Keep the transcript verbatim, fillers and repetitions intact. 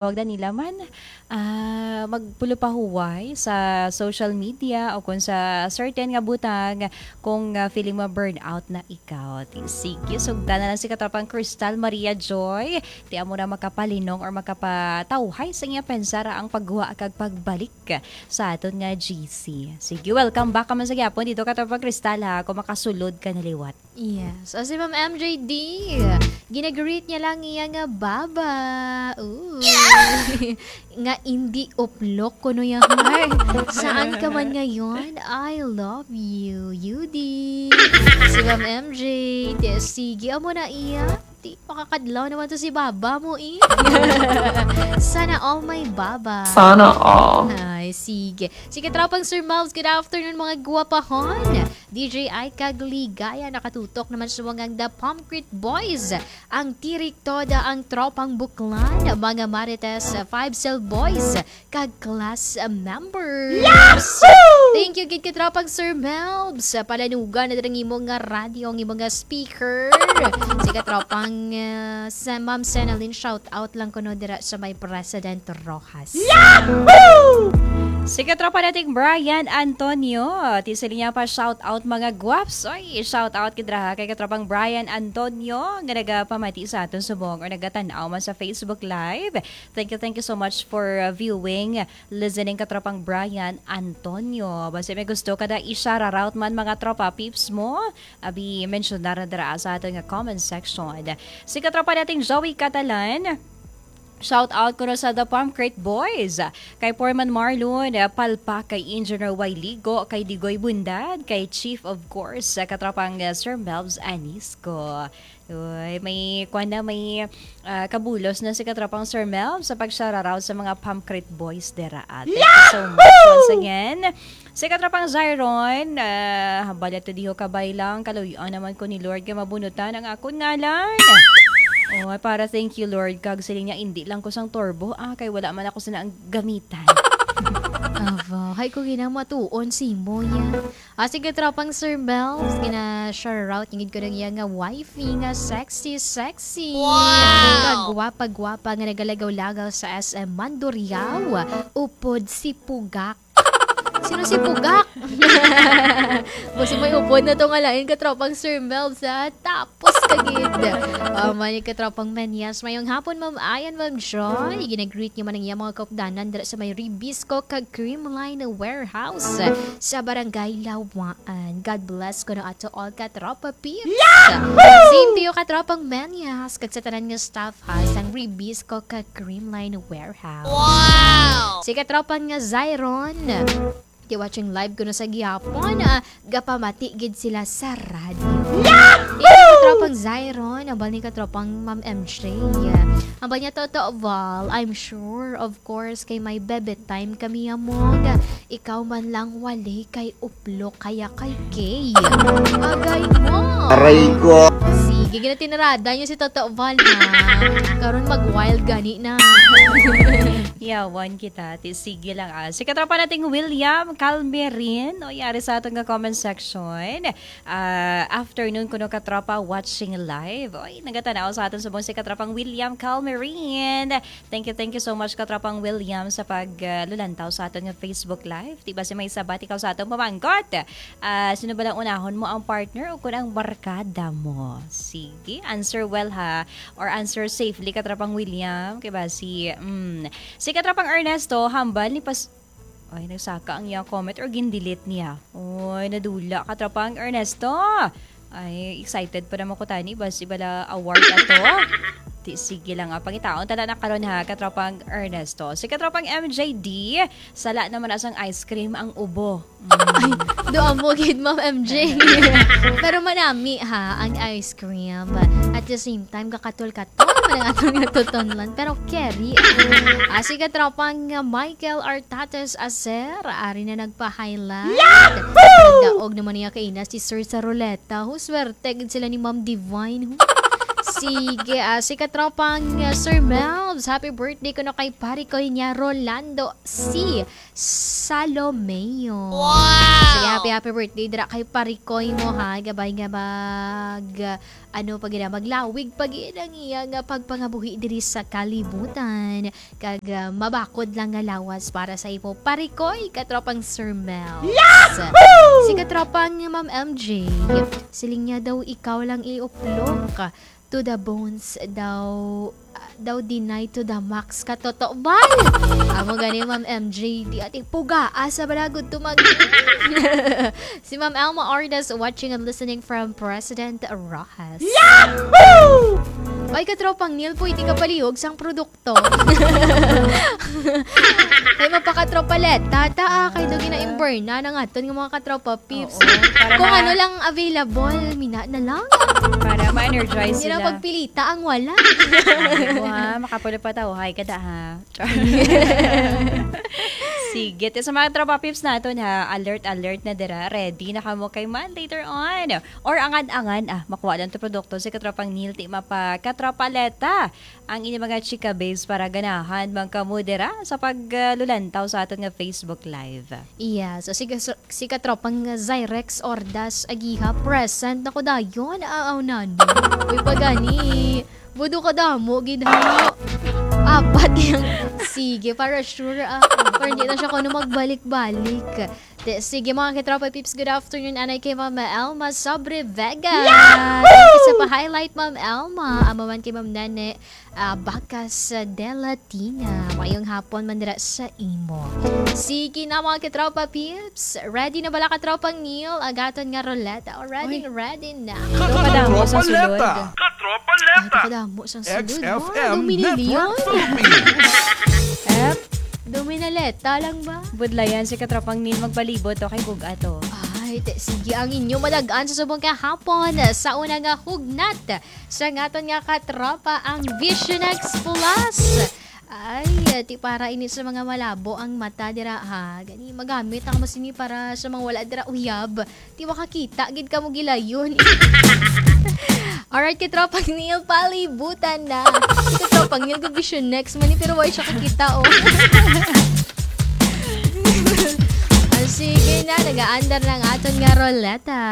Wag na nila man, ah, magpulupahuway sa social media o kung sa certain nga butang kung, ah, feeling mo burnout na ikaw. Ti-, sige, sugdan na lang si katropang Crystal Maria Joy. Ti amo na makapalinong or makapatawhay sa iya pensar ang pagguwa kag pagbalik sa aton nga G C. Sige, welcome back ka man sa gyapon dito, katropang Crystal, ha, kung makasulod ka na liwat. Yes. O, si Ma'am M J D, ginagreet niya lang iya nga baba. Ooh. Nga hindi uplok kuno ya heart. Saan ka man ngayon? I love you, Yudi. Si Ma'am M J, di, sige, amo na iya. Di, makakadlaw naman to si baba mo, eh. Sana all my baba. Sana all. Ay, sige. Sige, tropang Sir Miles, good afternoon, mga guwapahon. D J Ai kag Ligaya, nakatutok naman sa mga The Pomcrete Boys. Ang Tirik Toda, ang Tropang Buklan, mga Marites, Five Cell Boys, kag class members. Yahoo! Thank you gid kay Tropang Sir Melbs. Palanugan na dira ang imo nga radyo, ang imo nga speaker. Sige, Tropang, ah, sa Ma'am Senalyn, shout out lang kuno dira sa may President Rojas. Yahoo! Sige, tropa nating Brian Antonio. Ti sila niya pa, shout out, mga guwaps. Oy, shout out kay draha kay katropang Brian Antonio nga nagapamati sa aton subong or nagatan-aw man sa Facebook Live. Thank you, thank you so much for, uh, viewing, listening, katropang Brian Antonio. Basta may gusto ka na i-shout out man, mga tropa peeps mo, abi, mensyonara dira sa aton nga comment section. Si katropa nating Joey Catalan, shout out kuno sa The Pomcrete Boys, kay Foreman Marlon, eh, Palpak, kay Engineer Y Ligo, kay Digoy Bundad, kay Chief, of course, sa katropang, eh, Sir Melvs Anisco. Uy, may, kwan na, may, ah, kabulos na si katropang Sir Melv sa pag-shoutout sa mga Pomcrete Boys dera. Ah, thank you so much once again. Si katropang Zyron, ah, hambal ato diho, kabay lang, kaluy-an naman ko ni Lord kay mabunutan ang akon ngalan. Oh, para thank you, Lord, kag siling niya, "Indi lang ko sang turbo, ah, kay wala man ako sina ang gamitan." Aba, hay ko ginamatuon si Moya. Ah, sige, tropang Sir Mel, gina-shoutout niya gid ko ng iya nga wifey nga sexy, sexy. Wow! Kagwapa-gwapa nga nagalagaw-lagaw sa S M Mandurriao, upod si Pugak. Sino si Pugak? Basi may upod na to nga lain, katropang Sir Mel, sa tapos ka gid. Ah, may katropang Menyas, mayong hapon, Ma'am Ayan, Ma'am Joy. Ginagreet niyo man ang iyang mga kaupdanan dira sa may Ribisco kag Creamline Warehouse sa Barangay Lawaan. God bless kuno ato all, katropa peeps. Yahoo! Same to you, katropang Menyas, kag sa tanan nga staff ha sang Ribisco kag Creamline Warehouse. Wow! Si katropang nga Zyron, ti watching live kuno sa gihapon, ah, gapamati gid sila sa radyo. Yahoo! Iya, katropang Zyron, hambal ni katropang Ma'am M J. Hambal niya, "Toto Val, I'm sure, of course, kay may bebe time kami, amog. Ikaw man lang wali kay uplok kaya kay gay." Agay mo. Aray ko. Sige, ginatinarada niyo si Toto Val, ha? Karon mag-wild gani na. Yawan kita, ti sige lang, ah. Si katropa nating William Calmerin, o, yari sa aton nga comment section. Ah, afternoon kuno, katropa, watching live. Oy, nagatanaw sa aton subong si katropang William Calmerin. Thank you, thank you so much, katropang William, sa pag, ah, lulantaw sa aton nga Facebook Live. Di ba si may sabat ikaw sa atong pamangkot? Ah, sino ba lang unahon mo, ang partner o kun ang barkada mo? Sige, answer well, ha, or answer safely, katropang William. Kay ba si, mm, si katropang Ernesto, hambal ni pas-, ay, nagsaka ang iyang comment or gin-delete niya. Oy, nadula, katropang Ernesto. Ay, excited pa naman ko tani, basi bala award ato. Ti, sige lang, ah, pangitaon tala na karon, ha, katropang Ernesto. Si katropang M J D, sala naman na sang ice cream ang ubo. Mm. Ay, doon mo gid, Ma'am M J. Pero manami, ha, ang ice cream. At the same time, kakatol-katol man ang atong natutunlan. Pero carry. Ah, si katropang, ah, Michael Artates Acer, ari na nagpa-highlight. Yahoo! Nagdaog naman niya kay Ina si Sir sa ruleta. Hu, swerte gid sila ni Ma'am Divine. Hu. Sige, ah, si katropang, ah, Sir Melvs, happy birthday kuno kay pare ko niya, Rolando C. Salomeo. Wow! Sige, happy, happy birthday dira kay pare ko mo, ha. Gabay nga mag, ah, ano pa gina, maglawig pa gid ang iya nga pagpangabuhi diri sa kalibutan. Kag, ah, mabakod lang nga lawas para sa imo, pare ko, katropang Sir Melvs. Yahoo! Si katropang Ma'am M J, siling niya daw ikaw lang iuplok. To the bones daw, ah, daw deny to the max. Katotoo ba? Amo gani, Ma'am M J, di ati pugaa sa balagod tumag-, si Ma'am Elma Ardas watching and listening from President Roxas. Yahoo! Ay, katropang Neil, pwede ka palihog sang produkto. Kay mapakatropa Leta, ta, ah, kay daw gina-imburn na ng aton nga mga katropa peeps. Oo, para Kung ma- ano lang available, mina na lang. Para ma-energize Hindi na sila. Pagpilita ang wala. Ay, wa, makapulo pa tao. Hi, kada ha. Char. Sige, te, sa mga tropa peeps naton ha, alert, alert na dira. Ready na kamo kay man later on. Or angan-angan, ah, makuha lang to produkto si katropang Neil, ti mapa katropa Leta. Ang inyong mga chika babes para ganahan man kamo dira sa paglulantaw sa aton nga Facebook Live. Iya, so si, si katropang Zyrex Ordas Agiha, present na ko dayon, aaw nani. Uy, pagani, budo ka damo, gid ha. Apat yung, sige, para sure, ah. Para hindi na siya kuno magbalik-balik. Te, sige, mga katropa peeps, good afternoon. Anay kay Mama Elma Sobre Vega. Yahoo! Thank you sa pa-highlight, Ma'am Elma. Amo man kay Ma'am Nene, ah, Bakas, ah, Dela Tina. Mayong hapon man dira sa imo. Sige na, mga katropa peeps. Ready na bala, katropang Neil? Agaton nga ruleta. O, ready, Uy. Ready na. Kadamo sa sulod. Katropa Leta. Katropa Leta. Ay, kadamo sang sulod. X F M Network Philippines. Ep. Duminaleta lang ba? Budlayan si katropang Neil magpalibot to kay bug-a to. Ay, te, sige ang inyo madag-an sa subong kahapon sa una nga hugnat sa ngaton nga katropa ang Vision X Plus. Ay, ti para ini sa mga malabo ang mata dira ha. Gani magamit ang mas ini para sa mga wala dira uyab. Ti makakita gid kamo gilayon. Alright, kay Tropang Neil, palibutan na. Si Tropang Neil, good vision next man, pero why siya kakita, oh? Ah, sige na, nagaandar na ang aton nga ruleta.